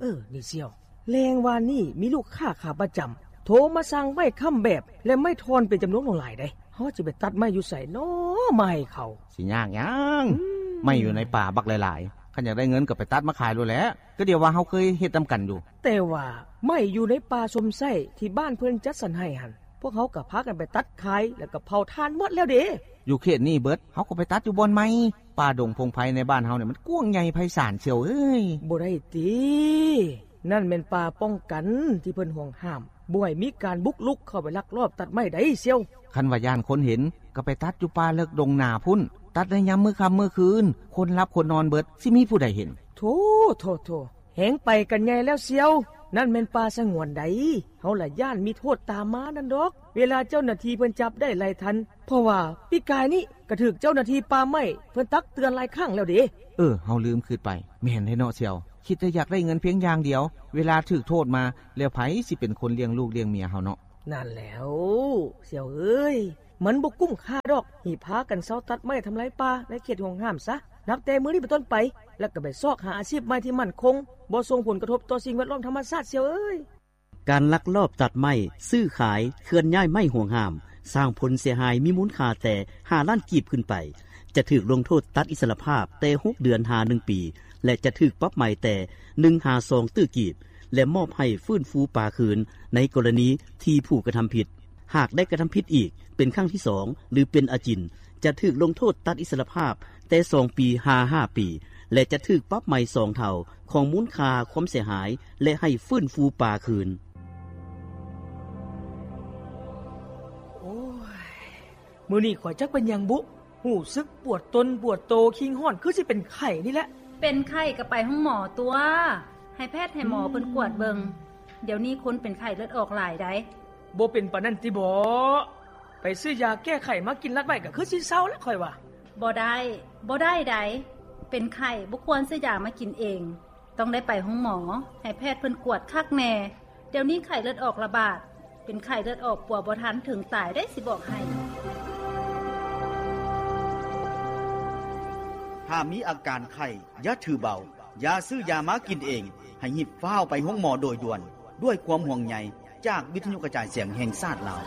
ເອີ ນີ້ສ່ຽວ, ແລງວານນີ້ມີລູກຄ້າຂາປະຈຳໂທມາສັ່ງໄມ້ຄ້ຳແບບ ແລະ ໄມ້ທ່ອນເປັນຈຳນວນຫຼວງຫຼາຍເດ້. ເຮົາຈະໄປຕັດໄມ້ຢູ່ໃສນໍ ມາໃຫ້ເຂົາ? ຊິຍາກຫຍັງ? ອືມ ໄມ້ຢູ່ໃນປ່າບັກຫຼາຍໆ, ຄັນຢາກໄດ້ເງິນກໍໄປຕັດມາຂາຍໂລດແຫຼະ. ກໍດຽວວ່າເຮົາເຄີຍເຮັດນຳກັນຢູ່. ແຕ່ວ່າໄມ້ຢູ່ໃນປ່າຊົມໄຊທີ່ບ້ານເພິ່ນຈັດສັນໃຫ້ຫັ້ນ, ພວກເຮົາກໍພາກັນໄປຕັດຂາຍ ແລ້ວກໍເຜົາຖ່ານໝົດແລ້ວເດ້. ຢູ່ເຂດນີ້ເບິດ, ເຮົາກໍໄປຕັດຢູ່ບ່ອນໃໝ່. ປ່າດົງພົງໄພໃນບ້ານເຮົານີ້ມັນກວ້າງໃຫຍ່ໄພສານສ່ຽວເອີຍ. ບໍ່ໄດ້ຕິ, ນັ້ນແມ່ນປ່າປ້ອງກັນທີ່ເພິ່ນຫວງຫ້າມ, ບໍ່ໃຫ້ມີການບຸກລຸກເຂົ້າໄປລັກລອບຕັດໄມ້ໃດສ່ຽວ. ຄັນວ່າຢ້ານຄົນເຫັນ, ກໍໄປຕັດຢູ່ປ່າເລິກດົງໜາພຸ້ນ, ຕັດໃນຍາມມື້ຄ່ຳມື້ຄືນ, ຄົນຫຼັບຄົນນອນເບິດ, ຊິມີຜູ້ໃດເຫັນ? ໂທ້ ໂທ້ ໂທ້, ແຮງໄປກັນໃຫຍ່ແລ້ວສ່ຽວ. ນັ້ນແມ່ນປ່າສະຫງວນໃດ, ເຮົາລະຢ້ານມີໂທດຕາມມານັ້ນດອກ ເວລາເຈົ້າໜ້າທີ່ເພິ່ນຈັບໄດ້ໄລ່ທັນ. ເພາະວ່າປີກາຍນີ້ກໍຖືກເຈົ້າໜ້າທີ່ປ່າໄມ້ເພິ່ນຕັກເຕືອນຫຼາຍຄັ້ງແລ້ວເດ້. ເອີ ເຮົາລືມຄິດໄປ. ແມ່ນແທ້ເນາະສ່ຽວ, ຄິດແຕ່ຢາກໄດ້ເງິນພຽງຢ່າງດຽວ, ເວລາຖືກໂທດມາແລ້ວ ໃຜຊິເປັນຄົນລ້ຽງລູກລ້ຽງເມຍເຮົາເນາະ? ນັ້ນແຫຼ້ວສ່ຽວເອີຍ, ມັນບໍ່ກຸ້ມຄ່າດອກທີ່ພາກັນເຊົາຕັດໄມ້ທຳລາຍປ່າໃນເຂດຫວງຫ້າມຊະ. ນັບແຕ່ມື້ນີ້ເປັນຕົ້ນໄປ, ແລ້ວກໍໄປຊອກຫາອາຊີບໃໝ່ທີ່ໝັ້ນຄົງ, ບໍ່ສົ່ງຜົນກະທົບຕໍ່ສິ່ງແວດລ້ອມທຳມະຊາດສ່ຽວເອີຍ. ການລັກລອບຕັດໄມ້, ຊື້ຂາຍ, ເຄື່ອນຍ້າຍໄມ້ຫວງຫ້າມ, ສ້າງຜົນເສຍຫາຍມີມູນຄ່າແຕ່ຫ້າລ້ານກີບຂຶ້ນໄປ, ຈະຖືກລົງໂທດຕັດອິດສະຫຼະພາບແຕ່ຫົກເດືອນຫາໜຶ່ງປີ ແລະ ຈະຖືກປັບໃໝແຕ່ໜຶ່ງຫາສອງຕື້ກີບ ແລະ ມອບໃຫ້ຟື້ນຟູປ່າຄືນໃນກໍລະນີທີ່ຜູ້ກະທຳຜິດ. ຫາກໄດ້ກະທຳຜິດອີກເປັນຄັ້ງທີສອງ ຫຼື ເປັນອາຈິນ, ຈະຖືກລົງໂທດຕັດອິດສະຫຼະພາບແຕ່ສອງປີຫາຫ້າປີ ແລະ ຈະຖືກປັບໃໝສອງເທົ່າຂອງມູນຄ່າຄວາມເສຍຫາຍ ແລະ ໃຫ້ຟື້ນຟູປ່າຄືນ. ໂອ້ຍ ມື້ນີ້ຂ້ອຍຈັກເປັນຫຍັງບຸ, ຮູ້ສຶກປວດຕົນປວດໂຕ, ຄີງຮ້ອນ ຄືຊິເປັນໄຂ້ນີ້ແຫຼະ. ເປັນໄຂ້ກໍໄປໂຮງໝໍຕົວະ, ໃຫ້ແພດໃຫ້ໝໍເພິ່ນກວດເບິ່ງ. ດຽວນີ້ຄົນເປັນໄຂ້ເລືອດອອກຫຼາຍໃດ໋. ບໍ່ເປັນປານນັ້ນຕິບໍ? ໄປຊື້ຢາແກ້ໄຂ້ມາກິນລັດໄວ້ ກໍຄືຊິເຊົາລະຂ້ອຍວ່າ. ບໍ່ໄດ້, ບໍ່ໄດ້ໃດ໋. ເປັນໄຂ້ບໍ່ຄວນຊື້ຢາມາກິນເອງ, ຕ້ອງໄດ້ໄປໂຮງໝໍ ໃຫ້ແພດເພິ່ນກວດຄັກແນ່. ດຽວນີ້ໄຂ້ເລືອດອອກລະບາດ, ເປັນໄຂ້ເລືອດອອກປົວບໍ່ທັນເຖິງຕາຍເດ້ ຊິບອກໃຫ້. ຖ້າມີອາການໄຂ້ ຢ່າຖືເບົາ, ຢ່າຊື້ຢາມາກິນເອງ, ໃຫ້ຮີບຟ້າວໄປໂຮງໝໍໂດຍດ່ວນ. ດ້ວຍຄວາມຫ່ວງໃຍຈາກວິທະຍຸກະຈາຍສຽງແຫ່ງຊາດລາວ.